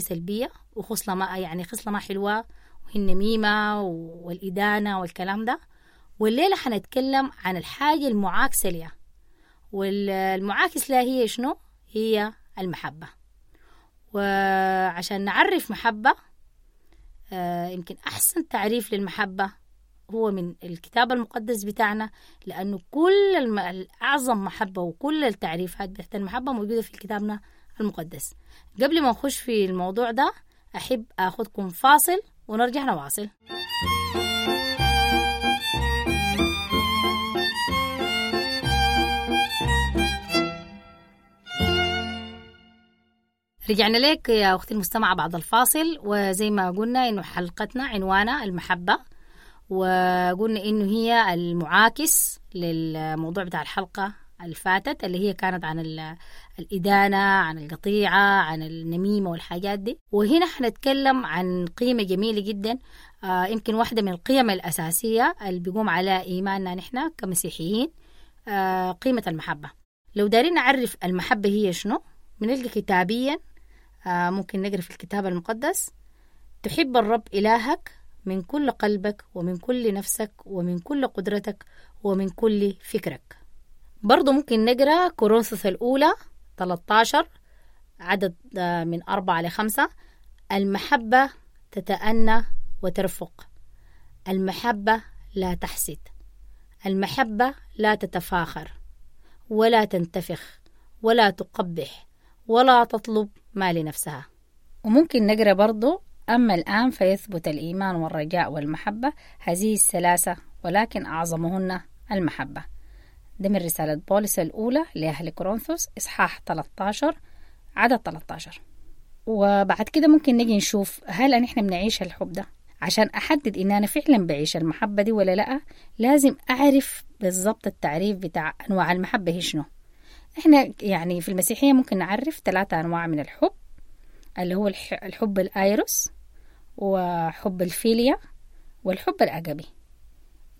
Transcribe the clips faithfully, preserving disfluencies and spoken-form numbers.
سلبية وخصلة ما يعني خصلة ما حلوة، وهي النميمة والإدانة والكلام ده. والليلة حنتكلم عن الحاجة المعاكسة لها، والمعاكس لها هي شنو؟ هي المحبة. وعشان نعرف محبة، آه، يمكن أحسن تعريف للمحبة هو من الكتاب المقدس بتاعنا، لأنه كل الم-، أعظم محبة وكل التعريفات بتاعت المحبة موجودة في كتابنا المقدس. قبل ما نخش في الموضوع ده أحب أخذكم فاصل ونرجع نواصل. رجعنا لك يا أختي المستمعة بعد الفاصل، وزي ما قلنا إنه حلقتنا عنوانها المحبة، وقلنا إنه هي المعاكس للموضوع بتاع الحلقة اللي فاتت اللي هي كانت عن ال-، الإدانة، عن القطيعة، عن النميمة والحاجات دي. وهنا حنتكلم عن قيمة جميلة جدا، آه، يمكن واحدة من القيم الأساسية اللي بيقوم على إيماننا نحن كمسيحيين، آه، قيمة المحبة. لو دارين نعرف المحبة هي شنو بنلقى كتابيا، آه، ممكن نقرأ في الكتاب المقدس: تحب الرب إلهك من كل قلبك ومن كل نفسك ومن كل قدرتك ومن كل فكرك. برضو ممكن نقرأ كورنثوس الأولى ثلاثة عشر عدد، آه، من أربعة لخمسة: المحبة تتأنى وترفق، المحبة لا تحسد، المحبة لا تتفاخر ولا تنتفخ ولا تقبح ولا تطلب ما لنفسها. وممكن نقرأ برضو: أما الآن فيثبت الإيمان والرجاء والمحبة، هذه الثلاثة، ولكن أعظمهن المحبة. ده من رسالة بولس الأولى لأهل كورنثوس إصحاح ثلاثة عشر عدد ثلاثة عشر. وبعد كده ممكن نجي نشوف هل نحن بنعيش الحب ده. عشان أحدد إن أنا فعلا بعيش المحبة دي ولا لأ، لازم أعرف بالضبط التعريف بتاع أنواع المحبة هي شنو. إحنا يعني في المسيحية ممكن نعرف ثلاثة أنواع من الحب، اللي هو الح-، الحب الآيروس وحب الفيليا والحب الأجابي.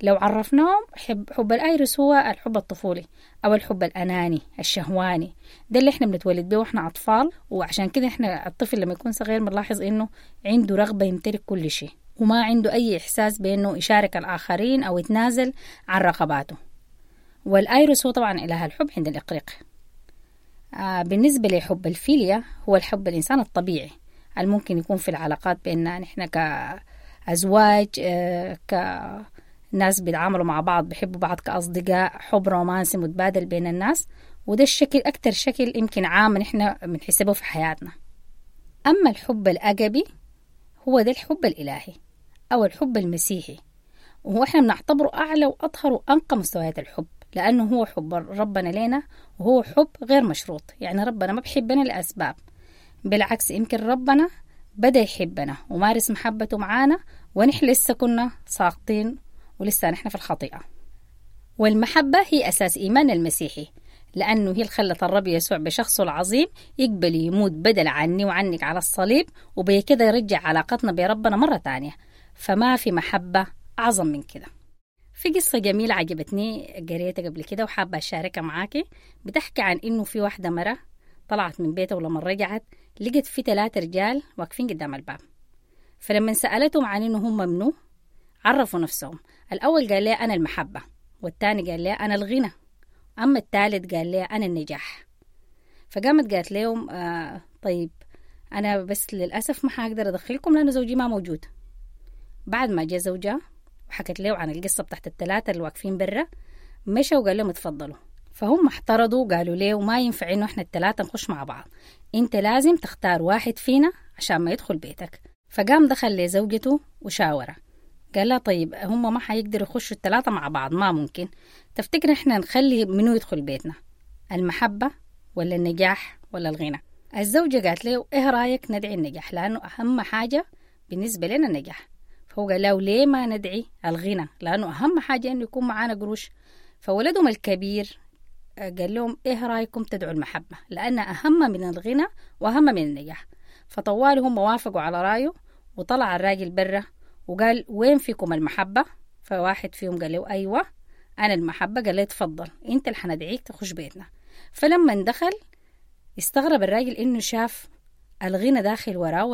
لو عرفناهم، حب، حب الآيروس هو الحب الطفولي أو الحب الأناني الشهواني، ده اللي إحنا بنتولد به وإحنا أطفال، وعشان كده إحنا الطفل لما يكون صغير بنلاحظ إنه عنده رغبة يمتلك كل شيء، وما عنده أي إحساس بإنه يشارك الآخرين أو يتنازل عن رغباته. والآيروس هو طبعا إله الحب عند الإغريق. آه، بالنسبة لحب الفيليا هو الحب الإنسان الطبيعي الممكن يكون في العلاقات بيننا نحن كأزواج، آه، كناس بيتعاملوا مع بعض، بيحبوا بعض كأصدقاء، حب رومانسي متبادل بين الناس، وده الشكل أكتر شكل يمكن عام نحن بنحسبه في حياتنا. أما الحب الأجبي هو ده الحب الإلهي أو الحب المسيحي، وهو إحنا بنعتبره أعلى وأطهر وأنقى مستويات الحب، لأنه هو حب ربنا لنا وهو حب غير مشروط. يعني ربنا ما بحبنا لأسباب، بالعكس يمكن ربنا بدأ يحبنا ومارس محبته معانا ونحن لسه كنا ساقطين ولسه نحن في الخطيئة. والمحبة هي أساس إيمان المسيحي، لأنه هي اللي خلت الرب يسوع بشخصه العظيم يقبل يموت بدل عني وعنك على الصليب، وبكده يرجع علاقتنا بربنا مرة تانية. فما في محبة أعظم من كده. في قصة جميلة عجبتني قريتها قبل كده وحابة أشاركها معاكي، بتحكي عن إنه في واحدة مرة طلعت من بيتها، ولما رجعت لقت في ثلاثة رجال واقفين قدام الباب. فلما سألتهم عن إنه هم منو عرفوا نفسهم. الأول قال لها أنا المحبة، والثاني قال لها أنا الغنى، أما الثالث قال لها أنا النجاح. فقامت قالت لهم آه طيب أنا بس للأسف ما حقدر أدخلكم لأنه زوجي ما موجود. بعد ما جاء زوجها وحكت له عن القصة بتاعت الثلاثة اللي واقفين برا، مشى وقال لهم اتفضلوا. فهم احترضوا وقالوا له ما ينفع إنه إحنا الثلاثة نخش مع بعض، أنت لازم تختار واحد فينا عشان ما يدخل بيتك. فقام دخل لزوجته وشاوره، قال لها طيب هم ما حيقدروا يخشوا الثلاثة مع بعض، ما ممكن، تفتكر إحنا نخلي منو يدخل بيتنا، المحبة ولا النجاح ولا الغنى؟ الزوجة قالت له إيه رأيك ندعي النجاح، لأنه أهم حاجة بالنسبة لنا النجاح. فهو قال له ليه ما ندعي الغنى، لأنه أهم حاجة إنه يكون معانا قروش. فولدهم الكبير قال لهم إيه رأيكم تدعوا المحبة، لأن أهم من الغنى وأهم من النجاح. فطوال هم وافقوا على رأيه، وطلع الراجل برا وقال وين فيكم المحبة؟ فواحد فيهم قال له أيوة أنا المحبة. قال له تفضل أنت اللي حندعيك تخش بيتنا. فلما دخل استغرب الراجل إنه شاف الغنى داخل وراه.